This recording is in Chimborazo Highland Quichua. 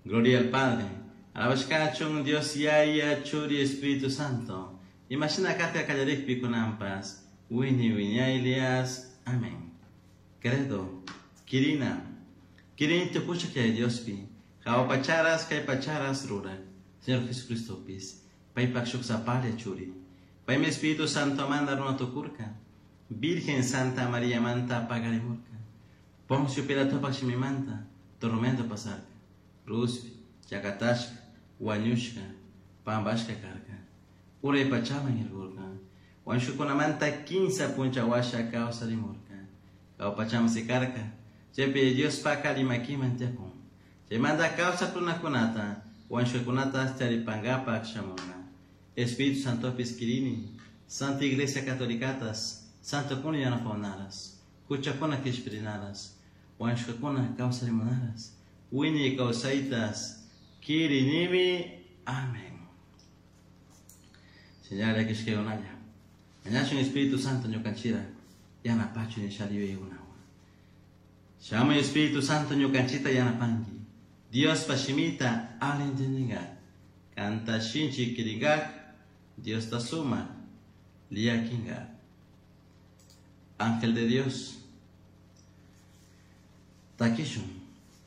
Gloria al Padre, alabashkachun Dios Yaya, Churi, Espíritu Santo, imashina karka kallarikpi kunanpas, wiñay wiñaylias. Amén. Credo, Kirina, Kirini tukushak Yaya Diospi, jahua pacharas kay pacharas rurak, Señor Jesucristopis, paypak shuk sapalla Churi, paymi Espíritu Santomanta runa tukurka, Virgen Santa Mariamanta pakarimurka, Poncio Pilatopak shimimanta, tormento pasarka, cruzpi, chakatashka, wañushka, pampashka karka, uray pachaman irkurka, wañushkakunamanta kinsa puncha washa kawsarimurka, jahua pachaman sikarka, chaypi Diospak alli makiman tiyakun, chaymanta kawsak runakunata, wañushkakunata charipankapak shamunka. Espíritu Santopis kirini, Santa Iglesia Catolicatas, santokuna yanapahunaras, huchakuna kishpirinaras, wañushkakuna kawsarimunaras, wiñay kawsaytas kirinimi. Amén. Señala kishkaykunalla. Mañashun Espíritu Santo ñukanchira yanapachun nishalla yuyaykunawan. Shamuy Espíritu Santo ñukanchita yanapanki. Diospa shimita ali entendingak. Kanta shinchi kiringak, Diosta sumak llakinkak. Ángel de Dios, takishun.